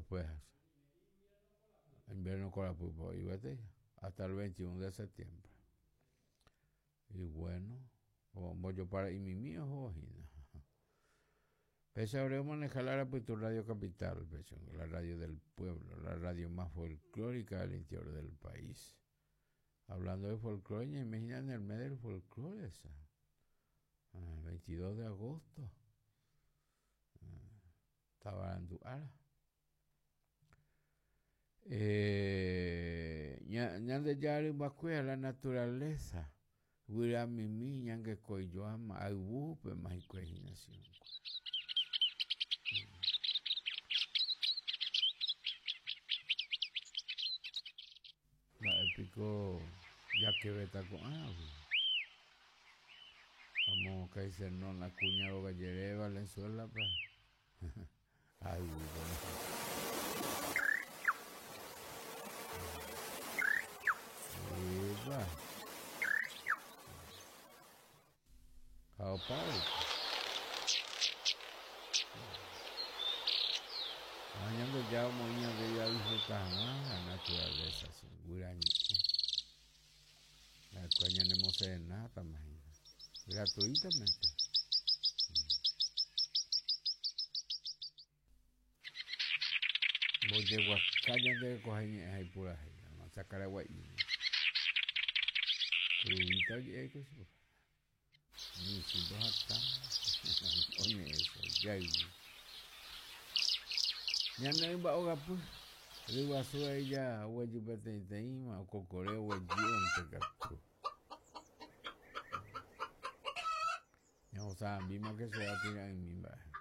Después invierno korapýpe oĩ gueteri hasta el 21 de septiembre. Y bueno, ombojopara'imimi ohóvo hína. Péicha ore omaneha la arapytu Radio Capital, péicha la radio del pueblo, la radio más folclórica del interior del país. Hablando de folclore, ñaime hína en el mes del folclore esa. 22 de agosto. Tavarandu ára. Eh, Ñandejára rymbakuéra, la naturaleza, guyramimi ñangekoijoáma ayvúpema hikuái hína chikuéra. Mba'e piko jakevéta ko'águi? Amo Kaisernon Acuña róga jere Valenzuela-pe. Ayvúpe. Epa. Ha opa Ha Ñandejára omoĩ ñande jadisfruta hag̃ua la naturaleza, sí, guyra ñe'ẽ. Ha'ekuéra ñanemoserenátama hína, gratuitamente. Mbojeguaka ñande rekoha iñe'ẽ ha ipurahéi, Chakaragua'íme. Kuruvíta oje'e ko chupe. Michĩ mbohata oñe'ẽ jayvy. Ñane rymba ogapy, ryguasu aija oguejy peteĩteĩma, okokore oguejy onte katu. Ñahosa'ãmbíma ke che apira'ỹmi mba'e.